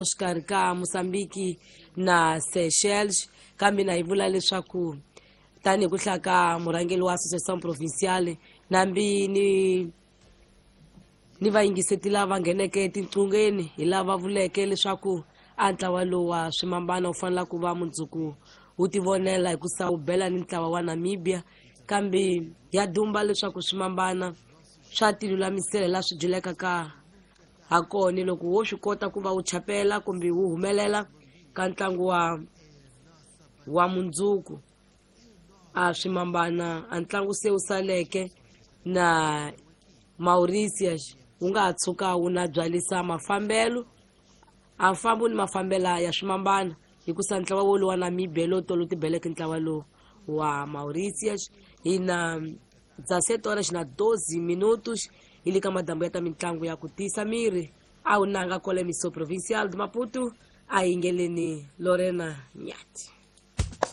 Xikarhi ka Mozambique na Seychelles, kambe na yi vula leswaku tanihi ku hlaya ka murhangeri wa Association Provinciale nambi ni vayingiseti lava ngheneke etinqungheni hi lava vuleke leswaku a ntlawa lowu wa swimambana wu fanela ku va mundzuku wu tivonela hi ku sa wu bela ni ntlawa wa Namibia, kambe ya dumba leswaku swimambana swa tilulamisela la swi dyuleka ka ha kona loko wo swi kota ku va wu chapela kumbe wu humelela ka ntlangu wa mundzuku. A swimambana a ntlangu se wu saleke na Mauritius wu nga ha tshuka wu na byalisa mafambelo a fambo ni mafambela ya swimambana, hikusa ntlawa wolowu wa Namibia lowu tolo tibeleke ntlawa lowu wa Mauritius. Hi na 17 horas na 12 minutos hi le ka madambu ya ta mitlangu ya ku tiyisa miri a wu nanga kwale Miso Provincial de Maputo. A yingeleni Lorena Nyati.